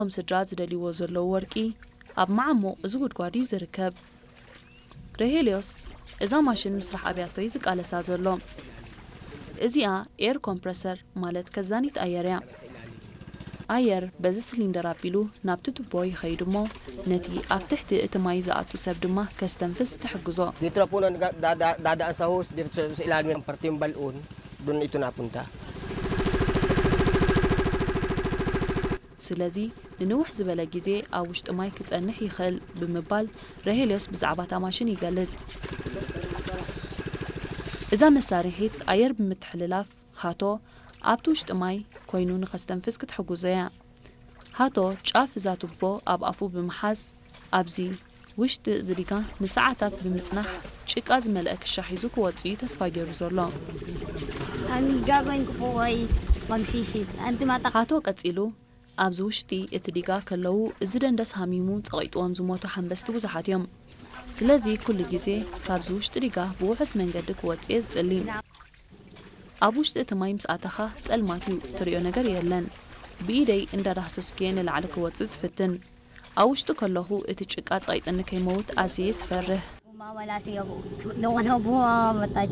እቶም ስድራ ዝደልይዎ ዘለዉ ወርቂ ኣብ መዓሙቕ እዚ ጉድጓድ እዩ ዝርከብ። ረሄልዮስ እዛ ማሽን ምስራሕ ኣብያቶ እዩ ዝቃለሳ ዘሎ። እዚኣ ኤር ኮምፕረሰር ማለት ከዛኒት ኣየር እያ። ኣየር በዚ ስሊንደር ኣቢሉ ናብቲ ቱቦ ይኸይድ እሞ ነቲ ኣብ ትሕቲ እቲ ማይ ዝኣቱ ሰብ ድማ ከስተንፍስ ትሕግዞ። Dito na po nag- dada- dadaan sa hose, dito sa, sa ilalim ng parte yung balon, doon ito napunta. ስለዚ ንንውሕ ዝበለ ግዜ ኣብ ውሽጢ ማይ ክጸንሕ ይኽእል ብምባል ረሄልዮስ ብዛዕባ እታ ማሽን ይገልጽ። እዛ መሳርሒት ኣየር ብምትሕልላፍ ሃቶ ኣብቲ ውሽጢ ማይ ኮይኑ ንኸስተንፍስ ክትሕግዞ እያ። ሃቶ ጫፍ እዛ ቱቦ ኣብ ኣፉ ብምሓዝ ኣብዚ ውሽጢ እዚ ዲጋ ንሰዓታት ብምጽናሕ ጭቃ ዝመልአ ክሻ ሒዙ ክወጽእ እዩ ተስፋ ገይሩ ዘሎ። Ang gagawin ko po ay magsisit. Ang tumatak ሃቶ ቀጺሉ ኣብዚ ውሽጢ እቲ ዲጋ ከለዉ እዚ ደንደስ ሃሚሙ ጸቒጥዎም ዝሞቱ ሓንበስቲ ብዙሓት እዮም። ስለዚ ኩሉ ግዜ ካብዚ ውሽጢ ዲጋ ብውሑስ መንገዲ ክወጽእ እየ ዝጽሊ። ኣብ ውሽጢ እቲ ማይ ምስ ኣተኻ ጸልማት እዩ፣ ትርእዮ ነገር የለን። ብኢደይ እንዳዳህሰስኩ እየ ንላዕሊ ክወጽእ ዝፍትን። ኣብ ውሽጢ ከለኹ እቲ ጭቃ ጸቒጥኒ ከይመውት ኣዝየ እየ ዝፈርህ። Mawala siya po. Doon ako po mamatay.